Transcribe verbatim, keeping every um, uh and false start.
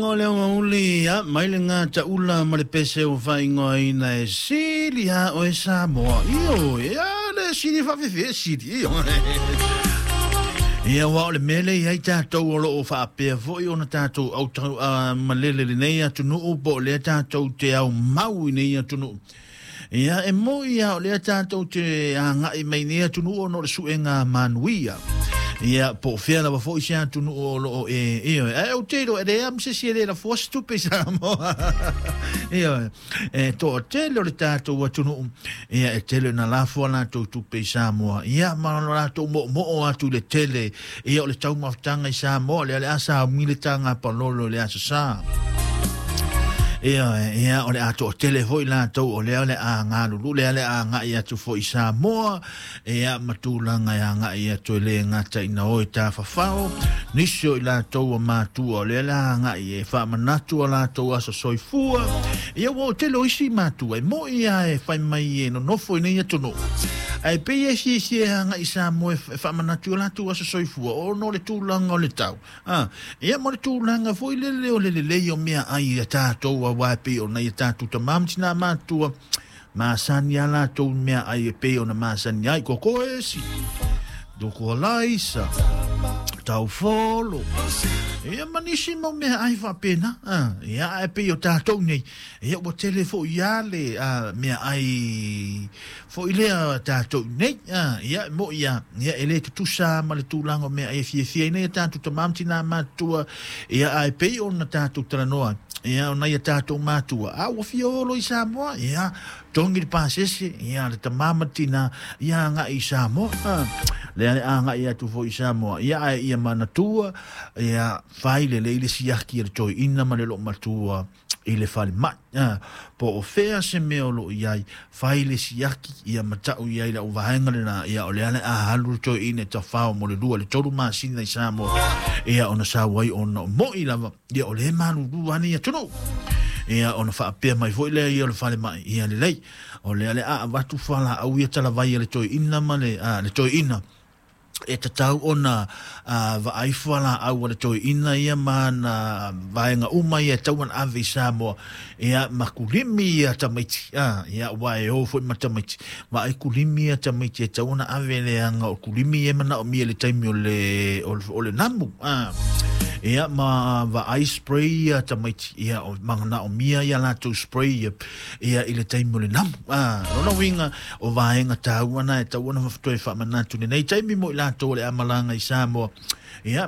O le aoauli ia mai le gataula ma le pese ua faaigoaina e sili lava oe Samoa. Ioe, ia le sili faafefea sili, ioe. Ia aua o le mea lea e i ai tatou o lo o faapea foi ona tatou autau uh, malele i lenei atunuu po o lea tatou te aumau i nei atunuu. Ia e moni lava o lea tatou te agai mai nei atunuu ona o le suega manuia. Ia po o fea lava foi se atunuu o lo o e ioe. Ae ou te iloa e leai lava ma se isi e le lafoa se tupe i Samoa. Ioe. E toatele o le tatou atunuu, ia e tele ina lafo a latou tupe i Samoa. Ia ma lo latou moomoo atu i le tele ia o le taumafataga i Samoa, lea o le a sauni le taga palolo i le Aso Sa. Ia, ia, o le a toatele foi latou o lea o le a galulu, lea o le a agai atu foi i Samoa, ia ma tulaga e agai atu e le gata ina o e tafafao, nisi o i latou ua matua o lea o le a agai e faamanatu a latou aso soifua. Ia ua o tele o isi matua e moni lava e fai mai e nonofo i nei atunuu, ae pei e fiafia e agai i Samoa e faamanatu i o latou aso soifua ona o le tulaga o le tau. A, ia ma le tulaga foi lele o le lelei o meaai a tatou, aua e pei o nai a tatou tama ma tinā matutua, masani a latou meaai e pei ona masani ai, koko esi, toko alaisa, taufolo, ia ma nisi mau meaai faapena. A, ia ae pei o tatou nei, ia ua tele foi lava le a, meaai foi lea tatou nei. A, ia e moni lava, ia e le tutusa ma le tulaga o meaai e fiafia ai nei a tatou tama ma tinā matutua, ia ae pei ona tatou talanoa, ia o nai a tatou matua, a ua fia olo i Samoa, ia togi le pasese, ia le tama ma le tinā, ia agai i Samoa. A, lea le agai atu foi i Samoa, ia ae ia manatua, ia fai lelei le siaki a le toeaina ma le loomatua i le falemai. A, po o fea se mea o lo o i ai, fai le siaki ia matau i ai le auvaega lena, ia o lea le a alu le toeaina e tafao mo le lua le tolu masina i Samoa, ia ona sau ai ona o moi lava, ia o lea e malulu lava nei atunuu. Ia ona faapea mai foi lea ia o le falemai, ia lelei, o lea le a avatu fualaau ia talavai a le toeaina ma le, a, le toeaina, e tatau ona a, vaai fualaau a le toeaina ia ma ana vaega uma ia e tatau ona ave i Samoa, ia ma kulimi ia tamaiti, a, ia aua e o foi ma tamaiti, vaai kulimi ia tamaiti e tatau ona ave leaga o kulimi ia e manaomia i le taimi o le, o le, o le namu, a. Ia ma vaai spray ia tamaiti, ia o manaomia ia latou spray ia, ia i le taimi o le namu. A, lona uiga o vaega taua na e tatau ona toe faamanatu i lenei taimi mo i latou o le a malaga i Samoa. Ia